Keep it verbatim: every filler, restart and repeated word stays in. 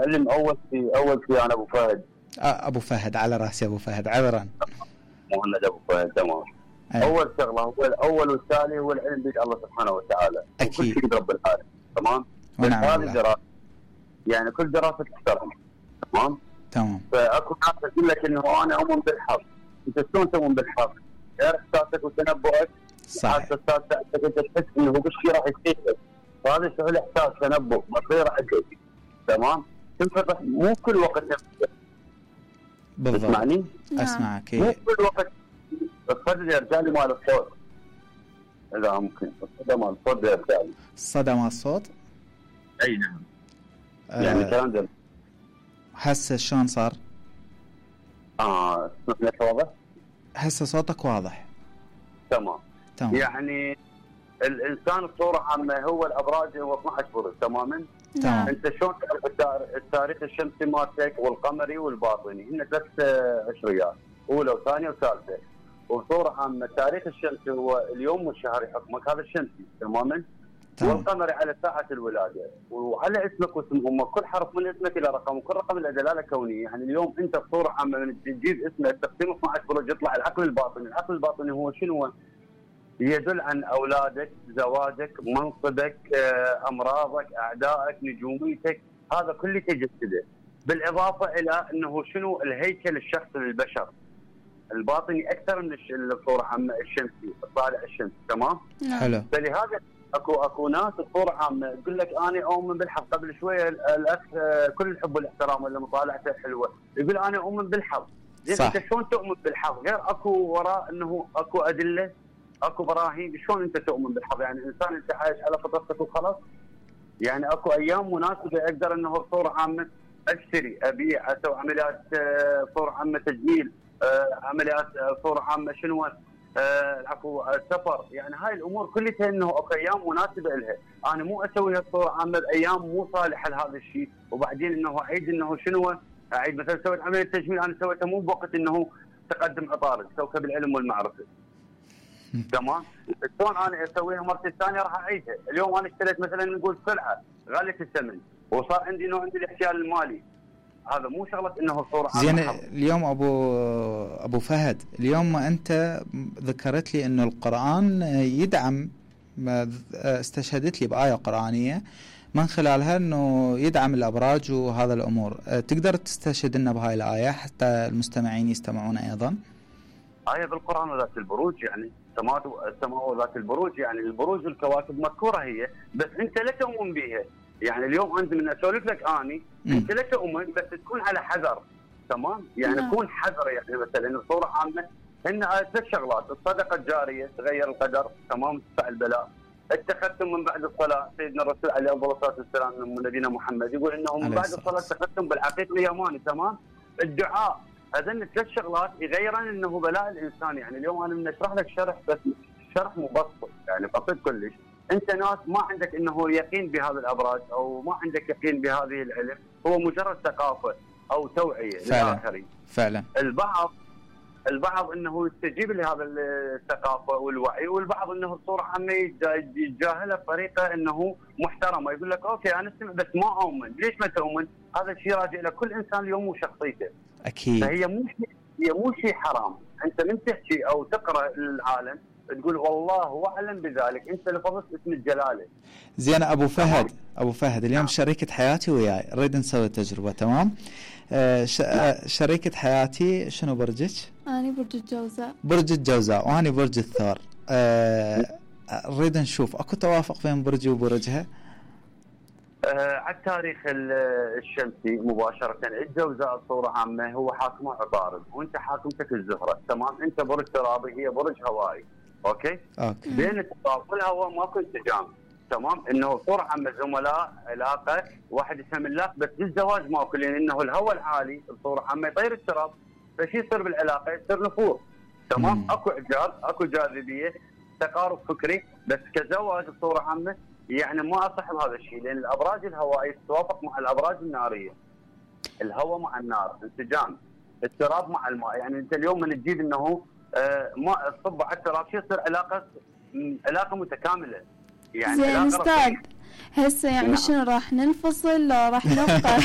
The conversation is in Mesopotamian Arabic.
علم اول شيء اول شيء انا ابو فهد. آه ابو فهد على راسي ابو فهد عذرا. مهند ابو فهد تمام. أيه. اول شغله هو الاول والتالي هو العلم بيد الله سبحانه وتعالى. اكيد. كل شيء رب العالمين تمام. ونعم بالله. دراسه يعني كل دراسه تحترم تمام. تمام. فاكو ناس تقول لك انه انا اؤمن بالحظ. انت شلون تؤمن بالحظ؟ غير احساسك وتنبؤك. صحيح. احساسك انت تحس انه بالشيء راح يصير. فهذا شغل احساس تنبؤ مصير عندك تمام. تنفتح مو كل وقت نفسك. بالضبط. تسمعني؟ اسمعك. مو كل وقت الصدى يرجع لي مال الصوت. اذا ممكن الصدى مال الصوت يرجع لي. الصدى مال الصوت؟ اي نعم. آه يعني كلام ده. هسه شلون صار؟ اه اسمح لك واضح؟ هسه صوتك واضح. تمام. تمام. يعني الانسان بصوره عامه هو الابراج هو اثني عشر برج تماما. تمام. انت شلون تعرف التاريخ الشمسي مالتك والقمري والباطني؟ هن ثلاث عشريات، اولى وثانيه وثالثه. وبصوره عامه التاريخ الشمسي هو اليوم والشهر يحكمك، هذا الشمسي تماما. والقمري على ساعه الولاده، وعلى اسمك واسم امك، كل حرف من اسمك الى رقم، وكل رقم له دلاله كونيه. يعني اليوم انت بصوره عامه من تجيب اسمك تقسيم اثني عشر برج يطلع العقل الباطني، العقل الباطني هو شنو؟ يدل عن اولادك، زواجك، منصبك، امراضك، اعدائك، نجوميتك، هذا كله تجسده. بالاضافه الى انه شنو الهيكل الشخصي للبشر الباطني اكثر من الصوره عامه الشمسي، الطالع الشمسي تمام؟ حلو. فلهذا اكو اكو ناس بصوره عامه تقول لك انا اؤمن بالحظ. قبل شويه الاخ كل الحب والاحترام ولا مطالعته حلوه يقول انا اؤمن بالحظ. زين انت شلون تؤمن بالحظ؟ غير اكو وراء انه اكو ادله، اكو براهين. شلون انت تؤمن بالحظ؟ يعني انسان انت عايش على فطرتك وخلاص؟ يعني اكو ايام مناسبه اقدر انه بصوره عامه اشتري، ابيع، اسوي عمليات بصوره عامه تجميل، عمليات بصوره عامه شنو العفو سفر. يعني هاي الامور كلها انه اكو ايام مناسبه لها. انا مو اسويها بصوره عامه بايام مو صالحه لهذا الشيء، وبعدين انه اعيد انه شنو اعيد مثلا سويت عمليه تجميل انا سويتها مو بوقت انه تقدم عطارد، كوكب العلم والمعرفه. تمام؟ شلون انا اسويها مرتين ثانيه راح اعيدها. اليوم انا اشتريت مثلا نقول سلعه غاليه الثمن وصار عندي انه عندي الاحتيال المالي، هذا مو شغله انه صوره زين. اليوم ابو ابو فهد، اليوم ما انت ذكرت لي انه القران يدعم، استشهدت لي بايه قرانيه من خلالها انه يدعم الابراج وهذا الامور، تقدر تستشهد لنا بهاي الايه حتى المستمعين يستمعون ايضا؟ آية بالقرآن وذات البروج، يعني السماء السماء وذات البروج، يعني البروج والكواكب مذكورة هي، بس أنت لا تؤمن بها. يعني اليوم أنت من أسولف لك أني أنت لا تؤمن، بس تكون على حذر تمام؟ يعني تكون حذر. يعني مثلا بصورة عامة هن ثلاث شغلات: الصدقة الجارية تغير القدر تمام، تدفع البلاء. اتخذتم من بعد الصلاة، سيدنا الرسول عليه الصلاة والسلام من نبينا محمد يقول إنه من بعد الصلاة اتخذتم بالعقيق اليماني تمام؟ الدعاء. هذين ثلاث شغلات يغيرن انه بلاء الانسان. يعني اليوم انا من اشرح لك شرح بس شرح مبسط يعني بسيط كلش. انت ناس ما عندك انه يقين بهذا الابراج او ما عندك يقين بهذه العلم، هو مجرد ثقافه او توعيه للاخرين. فعلا. البعض البعض انه يستجيب لهذا الثقافه والوعي، والبعض انه بصوره عامه يتجاهلها بطريقه انه محترمه، يقول لك اوكي انا اسمع بس ما اؤمن. ليش ما تؤمن؟ هذا الشيء راجع لكل انسان اليوم وشخصيته. اكيد. فهي مو شيء هي مو شيء حرام. انت من تحكي او تقرا للعالم تقول والله اعلم بذلك، انت لفظت اسم الجلاله. زين ابو فهد، ابو فهد اليوم شريكه حياتي وياي نريد نسوي تجربه تمام؟ آه ش... آه شريكه حياتي شنو برجك؟ انا برج الجوزاء. برج الجوزاء وانا برج الثور. آه نريد نشوف اكو توافق بين برجي وبرجها؟ آه على التاريخ الشمسي مباشرة الجوزاء بصورة عامة هو حاكمه عطارد، وانت حاكمتك الزهرة تمام؟ انت برج ترابي هي برج هوائي. اوكي؟ اوكي. بين التراب والهواء ماكو انسجام تمام؟ انه بصورة عامة زملاء علاقة واحد يفهم الله، بس بالزواج ماكو، لان انه الهواء العالي بصورة عامة يطير التراب، فشي يصير بالعلاقة؟ يصير نفور تمام؟ مم. اكو اعجاب، اكو جاذبية، تقارب فكري، بس كزواج بصورة عامة يعني ما اصح بهذا الشيء، لان الابراج الهوائيه تتوافق مع الابراج الناريه. الهواء مع النار انسجام، التراب مع الماء. يعني انت اليوم من تجيب انه آه ماء تصب على التراب شو يصير؟ علاقه علاقه متكامله. يعني زين استاذ هسه يعني شنو راح ننفصل لو راح نبقى؟